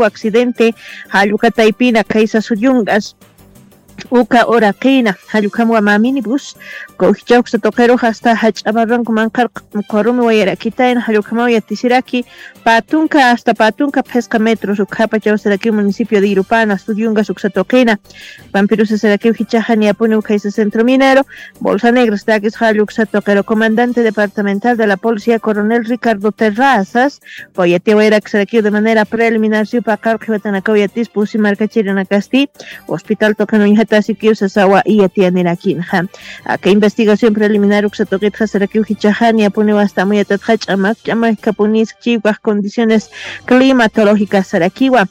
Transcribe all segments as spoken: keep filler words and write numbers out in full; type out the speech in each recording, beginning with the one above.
accidente, jallukataypina kaysa suyungas. Uka uraqina jallukhamwa mä minibus, kujichawksa tuqiruxa asta jach'a barranco manqharq qurumi wayarakitayna jallukhamaw yatisiraki. Patunka asta patunka phisqa metros ukhapachaw sarakiw municipio de Irupana suyungas uksa tuqina. Pampirusasarakiw jichaxa niyapuniw khaysa centro minero bolsa negra stakis jalluksa tuqiru comandante departamental de la policía coronel Ricardo Terrazas, kuyatiwayraksarakiw de manera preliminar siw paqar qhiwatanakaw yatis pusi markachirinakasti hospital tuqin uñjatasikiw sasawa iyatiyanirakinaxa. Aka investigación preliminar uksa tuqitxa sarakiw jichaxa niyapuniw asta amuyatatxa ch'amak ch'amak kapunis chiwkax condiciones climatológicas sarakiwa.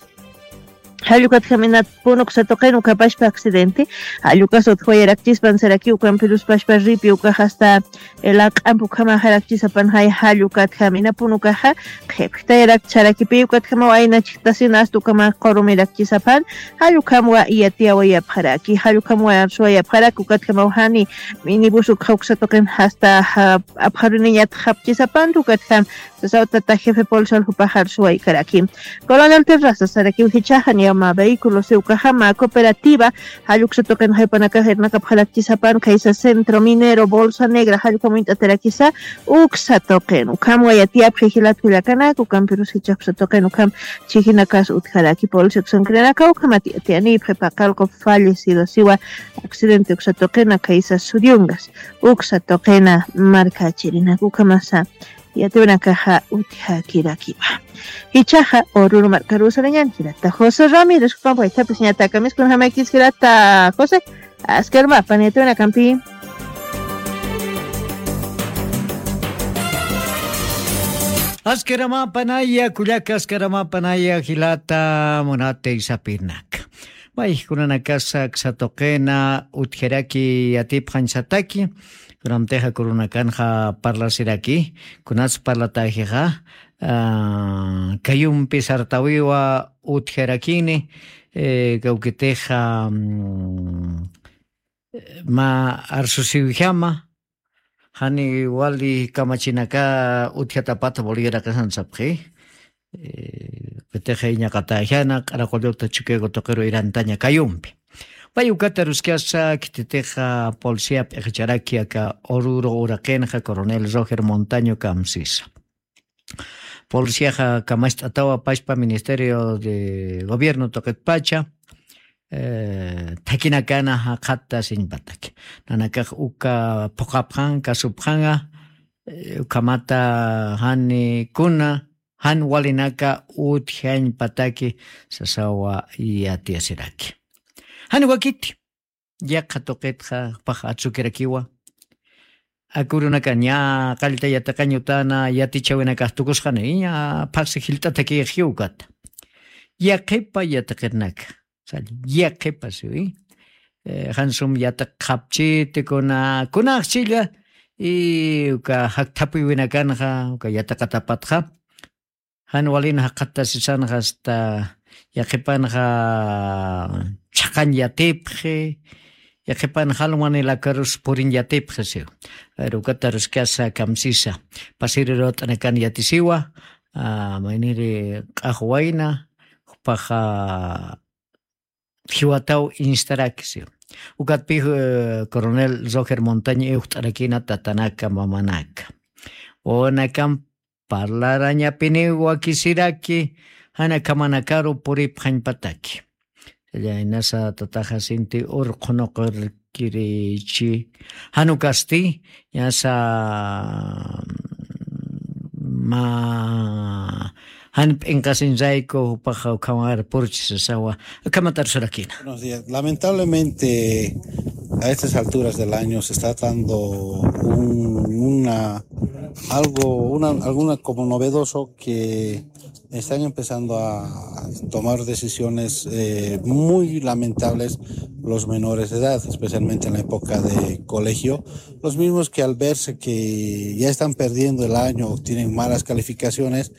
Jallukatjam inat punuk satuqin ukapashpa accidente jallukas utjawayarakchispan sarakiw ukampirus pashpa ripi ukaxasta laq'amp ukhamaxarakchisapan jay jallukatjam ina punukaxa qhipjtayarakchisarakipi ukatjamaw ayna chiktasina asta ukamax qurumirakchisapan. Jallukhamwa iyatiyawayapxaraki jallukhamwa arsuwayapxaraki ukatjamaw jani minibus ukxa uksatuqin jasta apxaruniñat japchisapan ukatjam. Sasawtata jefe policial jupaxar suwaykaraki. Coronel Terraza sarakiw jichaxa niyama vehículos iwkaxama cooperativa jalluksa tuqin jaypanakax irnakapxarakchisapan khaysa centro minero bolsa negra jallukam uñt'atarakisa. Uksa tuqin ukham wayatiyapxi jilat kullakanak ukampirus jichaksa tuqin ukham chijinakas utjaraki polisi uksankirinaka ukhamat yatiyanipxi paqalqu fallecido siwa. Accidente uksa tuqina khaysa suyungas uksa tuqina markachirinak ukhamasa. Yatiwanakaxa utjakirakiwa. Jichaxa ururu markarusarañan jirata josé ramírez jupampaytapis ñatakamiskunjamaykis jirata josé. Askarmapan yatiwanakampi. Askaramapanaya kullaka askaramapanaya jilata munatay sapirnak. Mayjkunanakasa ksatuqina utjaraki yatipxañsataki. Kunamtixa kurunakanxa parlasiraki kunats parlatajixa kayumpi sartawiwa utjarakini. Kawkitixa mä arsusiwjama jani wali kamachinaka utjatapata bolivia raqisan sapxi. Qitixa iñaqatäjana q'araqulluta chukiku tuqiru irantaña kayumpi. Pay ukata ruskasa khititixa policía p'iqicharaki aka ururu uraqinxa coronel roger montaño kamsisa. Policiaxa kamacht'atawa pashpa ministerio de gobierno tuqitpacha thakhinakana jaqhatta siñpataki nanakax uka phuqhapxan kasupxanxa. Ukhamata jani kuna jan walinaka utjañpataki sasawa yatiyasiraki. Jani wakiti yaqha tuqitxa jupax atsukirakiwa. Akurunaka ña qallta yatiqañutana yatichawinakax tukusxani ña phaqsi jilt'atakixjiw ukata. Yaqhipa yatiqirnaka sali yaqhipa siwi. Jansum yatiqxapchiti kuna kunaxchilla y uka jakthapuywiwinakanxa uka yatiqatapatxa. Jan walin jaqattasisanxa asta yaqhipanxa chhaqañ yatipxi. Yaqhipan jalwanilakarus puriñ yatipxi siw. Pero ukata ruskasa kamsisa pasiri ruwat'anakan yatisiwa. Mayniri q'axwayna jupaxa jiwataw instaraki siw. Ukatpix coronel roger montaña iwxt'arakina tatanaka mamanaka wawanakam parlarañapiniw wakisiraki. Jana kamanakaru puripxañpataki. Jallaynasa tataxa sinti urqhunuqirkirichi janukasti ñasa mä jan p'inqasiñrayku jupaxa ukhamarpurchi sasawa. Akhamat arsurakina. Buenos días. Lamentablemente a estas alturas del año se está dando un- una algo una alguna como novedoso que están empezando a tomar decisiones eh, muy lamentables los menores de edad, especialmente en la época de colegio, los mismos que al verse que ya están perdiendo el año o tienen malas calificaciones.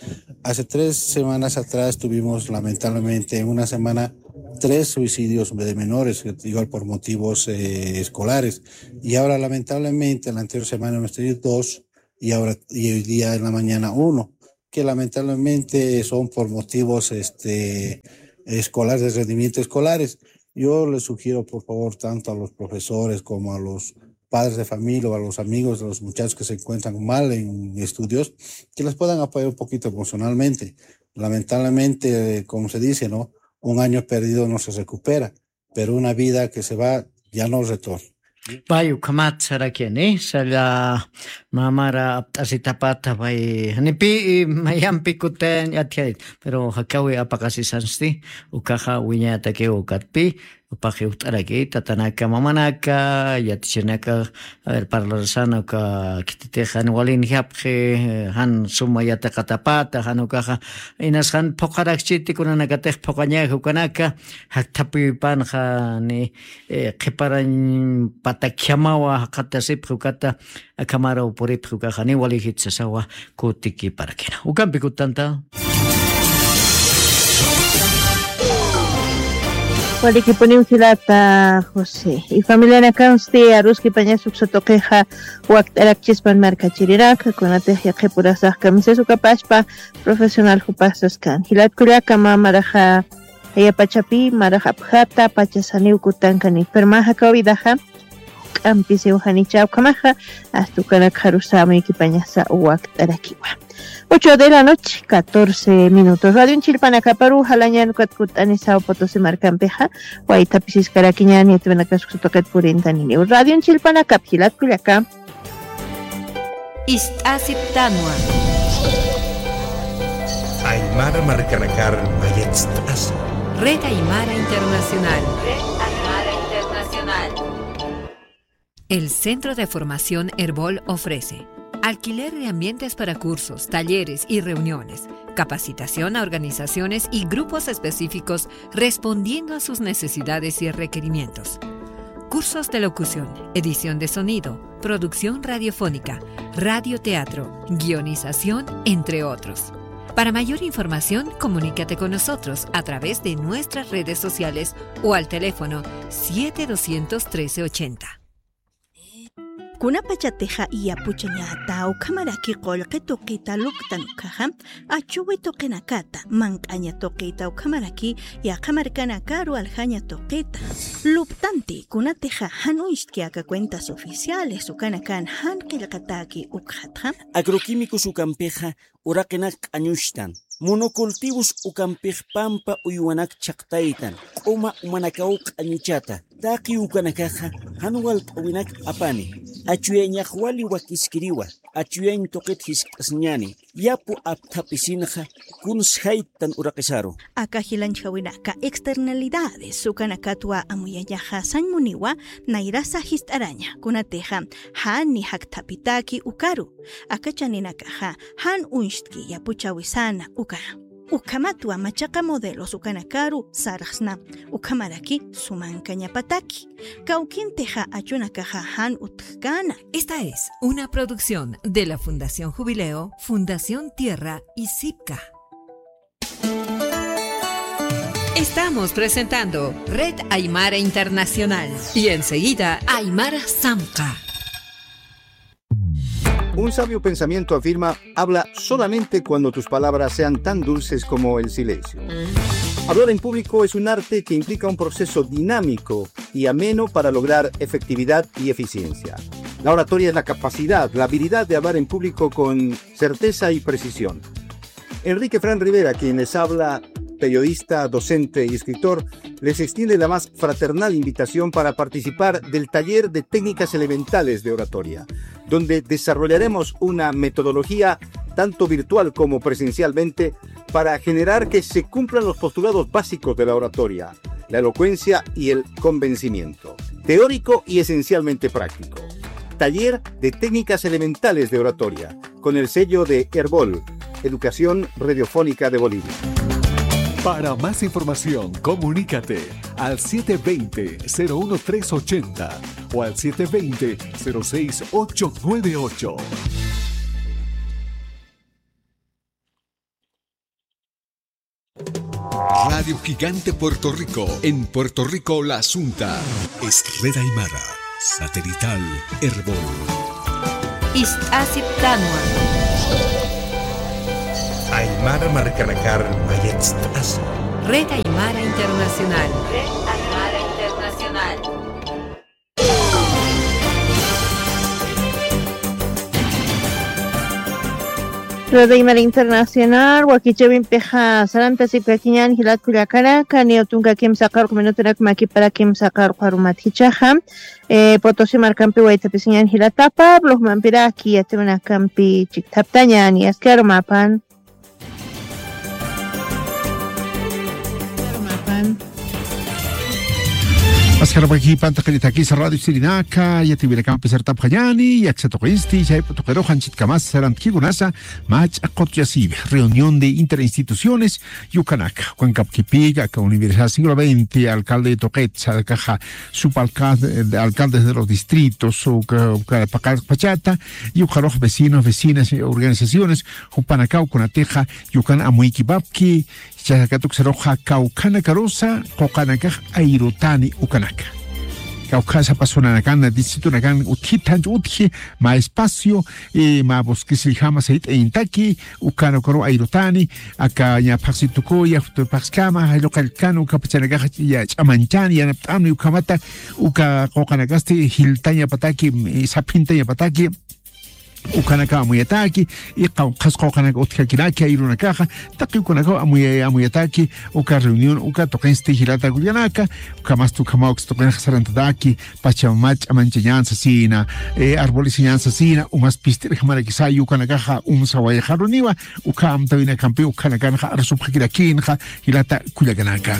Hace tres semanas atrás tuvimos lamentablemente en una semana tres suicidios de menores, igual por motivos eh, escolares. Y ahora lamentablemente la anterior semana hemos tenido dos y ahora y hoy día en la mañana uno. que lamentablemente son por motivos, este, escolares, de rendimiento escolares. Yo les sugiero, por favor, tanto a los profesores como a los padres de familia o a los amigos de los muchachos que se encuentran mal en estudios, que les puedan apoyar un poquito emocionalmente. Lamentablemente, como se dice, ¿no? Un año perdido no se recupera, pero una vida que se va ya no retorna. Pay ukhamat sarakini, salla mamara apt'asitapata pay, janipi mayampi kutañ atjayt, pero jakawi apaqasisansti, ukaxa wiñatakiw ukatpi, jupax jiwt'araki, tatanaka, mamanaka, yatichirinaka, a ver, parlarsana uka khititix jan walinjapxi, jan suma yatiqatapata, jan ukaxa, inas jan phuqharakchiti kunanakatix phuqhañaji ukanaka, jakthapïpanxa ni, eh, qhiparañ patakhamawa jaqatasipxi ukata, akhamaraw puripxi ukaxa, ni walijit sasawa kutikiparakina. Ukampi kutanta. Walikipuniw jilata José. Y familianakansti aruskipañas uksa tuqixa wakt'arakchispan markachirirak, kunatix yaqhipurasax kamisas ukapaspa profesional jupasas kan. Jilat kullaka mä maraxa jayapachapi, marax apjata, pachasaniw kutankan enfermaxa kawidaxa, k'ampisiw janicha ukhamaxa, hasta ukanakxarusa amuykipañasa wakt'arakiwa. Ocho de la noche, catorce minutos. Radio Chilpanakaparu jalañan ukat kut'ani Sao Potosí markampixa, waytapisiskarakiñan yatipanakas uksa tuqit purintaniniw. Radio Chilpanakap jilat kullaka. Ist'asiptanwa. Aymara markanakar mayatst'asa. Red Aymara Internacional. Red Aymara Internacional. El Centro de Formación Erbol ofrece alquiler de ambientes para cursos, talleres y reuniones, capacitación a organizaciones y grupos específicos respondiendo a sus necesidades y requerimientos. Cursos de locución, edición de sonido, producción radiofónica, radioteatro, guionización, entre otros. Para mayor información, comunícate con nosotros a través de nuestras redes sociales o al teléfono siete doscientos trece ochenta. Kunapachatixa yapuchañata ukhamaraki qullqi tuqita luptan ukhaxa, achuwi tuqinakata, manq'aña tuqita ukhamaraki yaqha markanakaru aljaña tuqita luptanti, kunatixa jan uñstki aka cuentas oficiales ukanakan jan qillqataki ukxatxa. Agroquímicos ukampixa uraqinak q'añuchtan, monocultivos ukampix pampa uywanak chhaqtaytan, q'uma umanakaw q'añuchata, taqi ukanakaxa jan walt'äwinak apani, achuyañax wali wakiskiriwa, achuyañ tuqit jiskt'asiñani, yapu apthapisinxa kuns jayttan uraqisaru. Aka jilanchjawinaka externalidades ukanakatwa amuyañaxa sañ muniwa nayrasa jist'araña, kunatixa jan ni jakthapitaki ukaru. Aka chaninakaxa jan uñstki yapuchäwisana uka. Ukhamatwa machaqa modelos ukanakaru sarxsna, ukhamaraki sumankañapataki. Kawkintixa achunakaxa jan utjkäna. Esta es una producción de la Fundación Jubileo, Fundación Tierra y Sipka. Estamos presentando Red Aymara Internacional y enseguida Aymara Samka. Un sabio pensamiento afirma: "Habla solamente cuando tus palabras sean tan dulces como el silencio". Hablar en público es un arte que implica un proceso dinámico y ameno para lograr efectividad y eficiencia. La oratoria es la capacidad, la habilidad de hablar en público con certeza y precisión. Enrique Fran Rivera, quien les habla, periodista, docente y escritor, les extiende la más fraternal invitación para participar del taller de técnicas elementales de oratoria, donde desarrollaremos una metodología, tanto virtual como presencialmente, para generar que se cumplan los postulados básicos de la oratoria, la elocuencia y el convencimiento. Teórico y esencialmente práctico. Taller de técnicas elementales de oratoria, con el sello de Erbol, Educación Radiofónica de Bolivia. Para más información, comunícate al siete veinte, cero uno tres ochenta o al siete veinte, cero seis ocho nueve ocho. Radio Gigante Puerto Rico, en Puerto Rico la Asunta. Es Red Aymara, satelital, Erbol. Ist'asiptanwa. Mara markanakar mayatst'asa. Red Aymara Internacional. Red Aymara Internacional. Red Aymara Internacional, wakichäwimpixa sarantasipkakiñäni jilat kullakanaka, niya tunka kimsa qarux minutunak makipara kimsa qarux arumat jichhaxa. Eh, Potosí markampi waytapisiñäni jilata Pablo, jumampiraki yatiwinakampi chikthaptañäni, askar umapan. Askar umapan. Askar umapan, taqinitakisa radio sirinaka, yatiwinakampi sartapxañäni, aksa tuqinsti, chaypa tuqirux anchitkamas sarantakikunasa, mach'a qutuyasiwi, reunión de interinstituciones, Yukanaka, ukankapkipiga, aka Universidad Siglo veinte, alcalde de Toquetsa, akaxa, subalcalde, alcaldes de los distritos, uka, uka paqallqpachata, y ukarux vecinos, vecinas, eh, organizaciones, jupanakaw kunatixa, yukan amuykipapki, chayakatuksarux kawkhanakarusa, quqanakax ayrutani ukanaka. Kawkhasapa zona nakan, distrito nakan, utjita, utji, mä espacio, eh, mä bosquesiljama sayt'ayintaki, ukan ukaru ayrutani, aka ña phaxsitukuya, phaxskama, jayluqallkana, uka pachanakaxa ch'amanchani, yanapt'amni, ukhamata, uka quqanakasti jiltañapataki, eh, saphintañapataki, ukanaka amuyataki, y qawqhas quqanaka utjakiraki, ayrunakaxa, taqi ukanaka amuya-, amuyataki, uka reunión, uka tuqinsti jilata kullakanaka, ukhamasti ukhamaw uksa tuqinxa sarantataki, Pachamama ch'amanchañan sasina, eh, arbolesiñan sasina, umas pist'irjamarakisa, ukanakaxa umsa wayxaruniwa, uka amtawinakampi, ukanakanxa arsupxakirakinxa, jilata kullakanaka.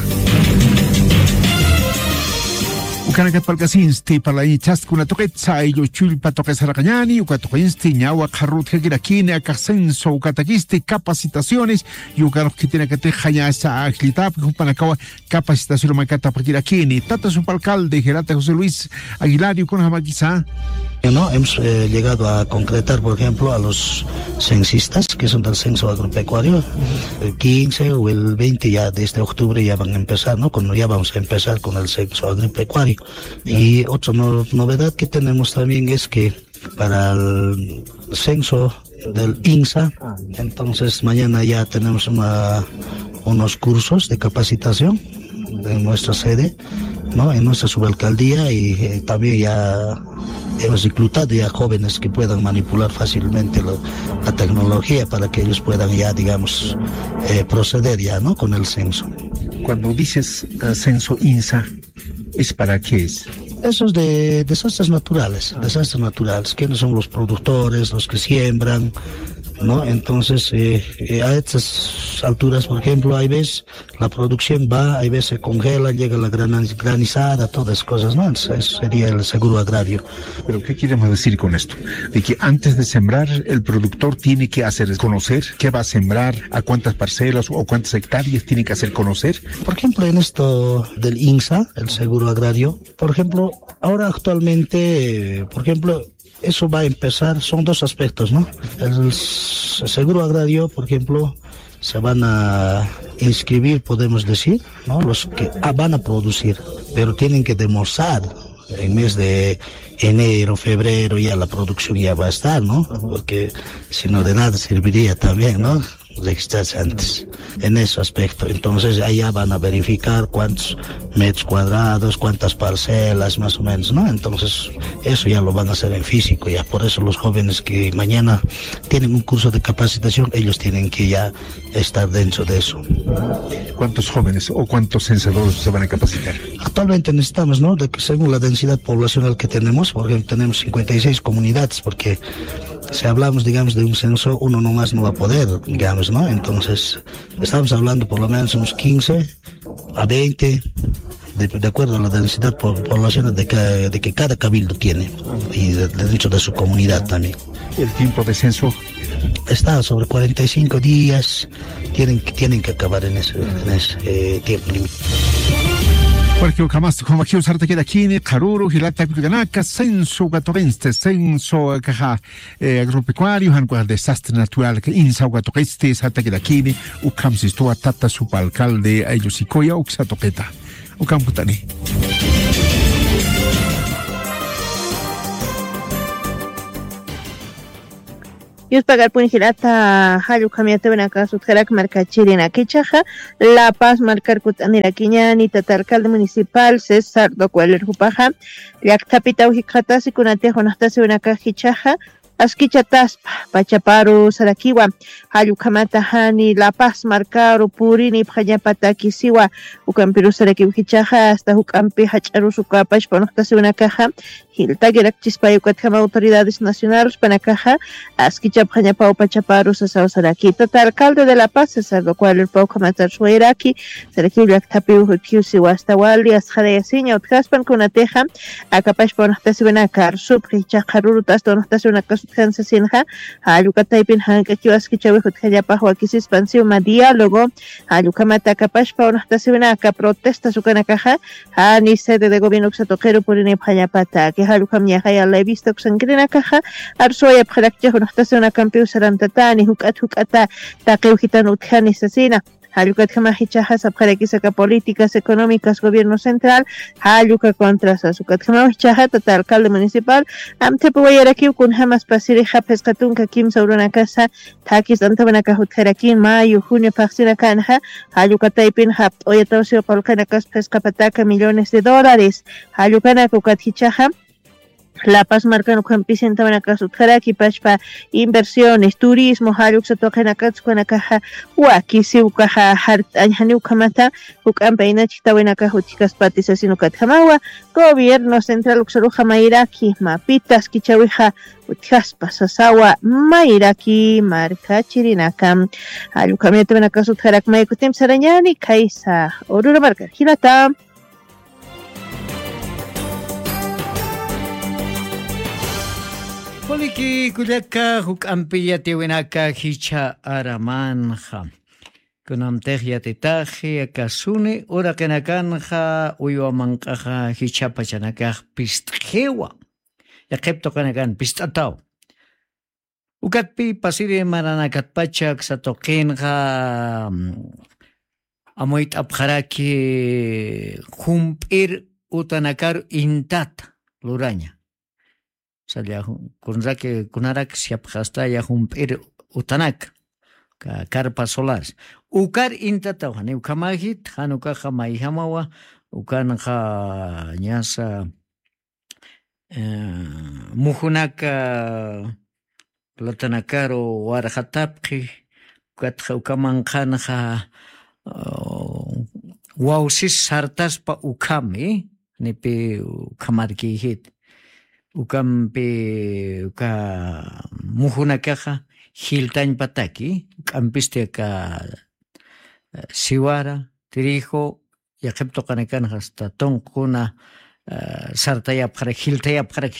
Ukanakat parlkasinsti, parlañchasti kuna tuqitsa, ayllu chullpa tuqisaraqañani, uka tuqinsti, ñawa qharrutjakirakini, akax censo, ukatakisti, capacitaciones, ukarux khitinakatixa ñasa ajllitapki, jupanakawa, capacitación makatapxakirakini. Tata subalcalde, jilata José Luis Aguilar, ukunjamakisa. No, hemos, eh, llegado a concretar, por ejemplo, a los censistas, que son del censo agropecuario, el quince o el veinte ya, desde octubre ya van a empezar, ¿no? Con, ya vamos a empezar con el censo agropecuario. Y otra no-, novedad que tenemos también es que para el censo del insa. Entonces, mañana ya tenemos una, unos cursos de capacitación en nuestra sede, ¿no? En nuestra subalcaldía y, eh, también ya hemos reclutado ya jóvenes que puedan manipular fácilmente lo-, la tecnología para que ellos puedan ya, digamos, eh, proceder ya, ¿no? Con el censo. Cuando dices, eh, censo insa, ¿es para qué es? Esos de desastres naturales, desastres naturales, quienes son los productores, los que siembran, ¿no? Entonces, eh, eh, a estas alturas, por ejemplo, hay veces la producción va, hay veces se congela, llega la grana-, granizada, todas esas cosas, ¿no? Entonces, eso sería el seguro agrario. ¿Pero qué queremos decir con esto? De que antes de sembrar, el productor tiene que hacer conocer qué va a sembrar, a cuántas parcelas o cuántas hectáreas tiene que hacer conocer. Por ejemplo, en esto del insa, el seguro agrario, por ejemplo, ahora actualmente, eh, por ejemplo, eso va a empezar, son dos aspectos, ¿no? El s-, seguro agrario, por ejemplo, se van a inscribir, podemos decir, ¿no? Los que, ah, van a producir, pero tienen que demostrar en mes de enero, febrero, ya la producción ya va a estar, ¿no? Porque si no, de nada serviría también, ¿no? Registrarse antes en ese aspecto. Entonces, allá van a verificar cuántos metros cuadrados, cuántas parcelas, más o menos, ¿no? Entonces, eso ya lo van a hacer en físico, ya. Por eso los jóvenes que mañana tienen un curso de capacitación, ellos tienen que ya estar dentro de eso. ¿Cuántos jóvenes o cuántos censadores se van a capacitar? Actualmente necesitamos, ¿no? De que según la densidad poblacional que tenemos, porque tenemos cincuenta y seis comunidades, porque si hablamos, digamos, de un censo, uno nomás no va a poder, digamos, ¿no? Entonces, estamos hablando por lo menos unos quince a veinte, de, de acuerdo a la densidad po-, poblacional de ca-, de que cada cabildo tiene, y de, de dentro de su comunidad también. ¿El tiempo de censo? Está sobre cuarenta y cinco días, tienen, tienen que acabar en ese, en ese, eh, tiempo límite. Porque ukhamas, como aquí usar te queda aquí, ni Karuru, Jilata, Kuyanaka, censo, Gatorense, censo, caja, eh, agropecuario, jan desastre natural, que insa, Gatorense, Santa Quedakini, ukham sistuwa, tata, subalcalde, ayllu sikuya, uksa tuqita. Ukham kutani. Yuspagarpuni jilata, jallukhamiyatawinakax sutjarak markachirinaka jichhaxa, La Paz markar kut'anirakiñani tata alcalde municipal César Docualer jupaxa, llakthapitaw jikxatasi kunatix unaxtasiwinakax jichhaxa, askichataspa pachaparu sarakiwa, jallukhamata jani La Paz markaru purinipxañapatakisiwa, ukampiru sarakiw jichhaxa, hasta juk'ampi jach'arus uka pachpa unaxtasiwinakaxa, jiltakirakchispay ukatjama autoridades nacionales panakaxa, askichapxañapaw pachaparu sasaw saraki. Tata alcalde de La Paz, César Docualer pawkhamatar suwayraki, sarakiw llakthapiw jutjiw siwasta wali, asxarayasiña utjaspan kunatixa, aka pachpa unaxtasiwinaka arsupxi, jichhaxa rurut'asta unaxtasiwinakas utjan sasinxa, jallukataypin jank'akiw askichawix utjañapax wakisispan siwma diálogo, jallukhamata aka pachpa unaxtasiwinaka protestas ukanakaxa, jani sede de gobierno uksa tuqiru purinipxañapataki, jallukhamñaxa ya la he visto uksankirinakaxa, arsuwayapxarakchix unaxtasiwinakampiw sarantatani, juk'at juk'ata taqiw jitan utjani sasina. Jallukatjamax jichhaxa sapxarakisa aka políticas económicas gobierno central, jalluka contra sas ukatjamaw jichhaxa tata alcalde municipal, amthipi wayarakiw kunjamas pasirixa phisqa tunka kimsa urunakasa, thakis t'antawinakax utjarakin mayo, junio phaxsinakanxa, jallukataypin japt'uyataw siw qullqinakas phisqa pataka millones de dólares, jallukanak ukat jichhaxa, La Paz markan ukhampi sintawinakas utjaraki pachpa inversiones, turismo, jalluksa tuqinakats ukanakaxa, wakisi ukaxa jart'añ jani ukhamata, juk'ampi ayna chhitawinakax utjkaspati sasin ukatjamawa, gobierno central uksaruxa mayraki, mapita askichawixa utjaspa sasawa, mayraki markachirinaka. Jallukhamiyatawinakas utjarak may kutimp sarañani, khaysa, Aurora marka, jilata. Waliki kullaka, juk'ampi yatiwinaka jichha aramanxa. Kunamtix yatitaxi, aka suni uraqinakanxa, uywa manq'axa jichha pachanakax pist'iwa. Yaqhip tuqinakan pist'ataw. Ukatpi pasiri maranakatpacha aksa tuqinxa, mm, amuyt'apxaraki jump'ir utanakaru intata luraña. Salla ju-, kunraki, kunarak siyapxastaya jump'ir utanaka, ka-, carpas solares. Ukar intataw, jani ukhamajit, jan ukaxa mayjamawa, ukanxa ñasa, eh, mujunaka platanakaru warxatapxi, ukatxa uka manqhanxa, uh, wawsis sartaspa ukhami, nipi ukhamarkïjit. Ukampi uka mujunakaxa jiltañpataki, uk'ampisti aka, eh, siwara, trigo, yaqhip tuqanakanxa hasta tunquna, eh, sartayapxarak, jiltayapxarak,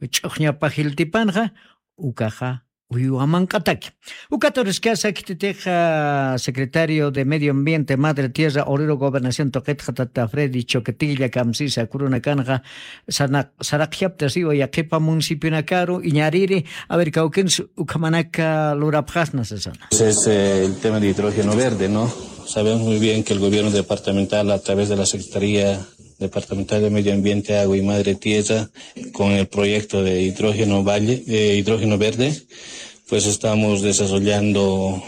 ch'uxñapa jiltipanxa, ukaxa uywa manq'ataki. Ukat uriskasa khititixa secretario de Medio Ambiente, Madre Tierra, Obrero Gobernación tuqitxa tata Freddy Choquetilla kamsisa kurunakanxa saraq-, saraqjaptasiwa yaqhipa municipionakaru iñariri, a ver, kawkins ukhamanaka lurapxasna sasana. Es, eh, el tema de hidrógeno verde, ¿no? Sabemos muy bien que el gobierno departamental, a través de la Secretaría Departamental de Medio Ambiente, Agua y Madre Tierra, con el proyecto de hidrógeno valle, de hidrógeno verde, pues estamos desarrollando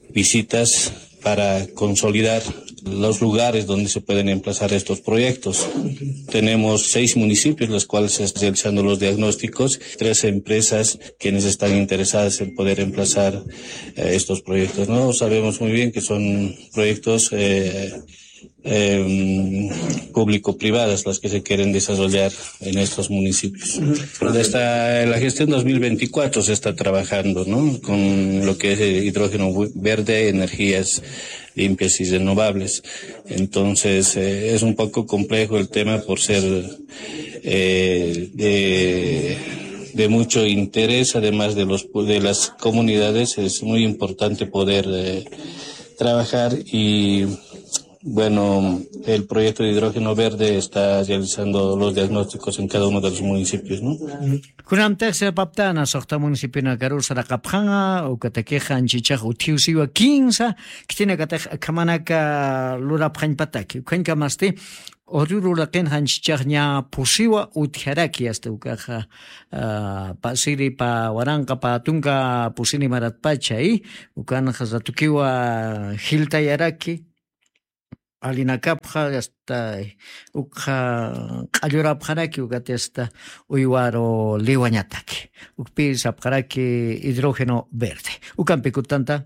visitas para consolidar los lugares donde se pueden emplazar estos proyectos. Tenemos seis municipios, los cuales se están realizando los diagnósticos, tres empresas quienes están interesadas en poder emplazar, eh, estos proyectos, ¿no? Sabemos muy bien que son proyectos, eh, em, público-privadas las que se quieren desarrollar en estos municipios. Desde la gestión dos mil veinticuatro se está trabajando, ¿no? Con lo que es el hidrógeno vu-, verde, energías limpias y renovables. Entonces, eh, es un poco complejo el tema por ser, eh, de, de mucho interés, además de los pu-, de las comunidades, es muy importante poder, eh, trabajar y Bueno, el proyecto de hidrógeno verde está realizando los diagnósticos en cada uno de los municipios, ¿no? Kunamtix sapaptana soxta municipionakaru saraqapxanxa ukatakixa anchichax utjiw siwa kinsa khitinakatix akhamanaka lurapxañpataki ukhañkamasti ururu laqin janchichax ña pusiwa utjaraki asta ukaxa pasiri pa waranqa pa tunka pusini maratpacha y ukanxa satukiwa jiltayaraki alinakapxa asta ukxa q'allurapxaraki ukati asta uywaru liwañataki ukpi sapxaraki hidrógeno verde ukampi kutanta.